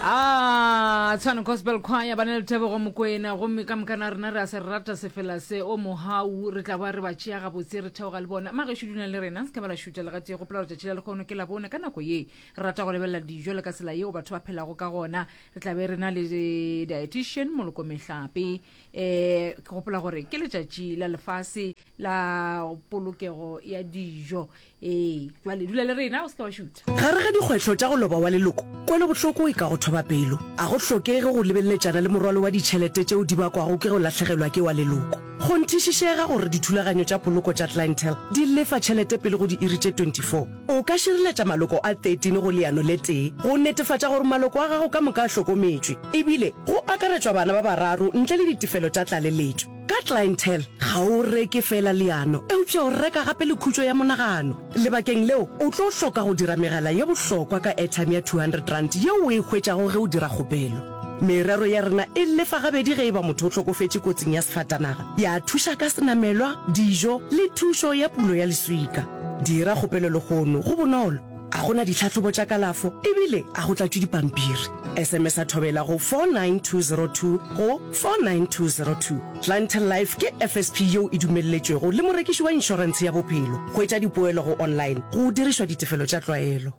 Ah, Tshwane Gospel Choir ba na le Tebogo Mokoena gomme ka moka na rena re a se rata sefela se o mohau re tla ba re ba tšea gabotse re theoga le bona magešo dulang le rena se ka ba la šuta le gatee gopola gore tšatši la lekgono ke la bone ka nako ye re rata go lebelela dijo le ka tsela yeo batho ba phelago ka gona re tla be re na le dietitian Moloko Mehlape eh ke gopola gore ke letšatši la lefase la polokego ya dijo Ee, jwale dula le rena, o se ke wa šutha. Gare ga dikgwetlho tša go loba wa leloko, kwelobohloko e ka go thoba pelo. A go hlokege go lebeleletšana le morwalo wa ditšhelete tšeo di bakwago ke go lahlegelwa ke wa leloko. Kgonthišišega gore dithulaganyo tša poloko tša Clientele di lefa tšhelete pele go diiri tše 24. O ka šireletša maloko a 13 go leano le tee go netefatša gore maloko a gago ka moka a hlokometšwe, ebile go akaretšwa bana ba bararo ntle le ditefelo tša tlaleletšo. Ka Clientele, ga o reke feela leano, eupša o reka gape le khutšo ya monagano. Lebakeng leo, o tlo hloka go dira megala ye bohlokwa ka airtime ya R200 yeo o e hwetšago ge o dira kgopelo. Merero ya rena e lefa gabedi ge e ba motho o hlokofetše kotsing ya sefatanaga, ya thuša ka senamelwa, dijo le thušo ya pulo ya leswika. Dira kgopelo lehono, go bonolo, ga go na ditlhahlobo tša kalafo ebile ga go tlatšwe dipampiri. SMS-a Thobela go 49202 go 49202. Clientele Life ke FSP yeo e dumelletšwego le morekiši wa inšorentshe ya bophelo. Hwetša dipoelo go online go dirišwa ditefelo tša tlwaelo.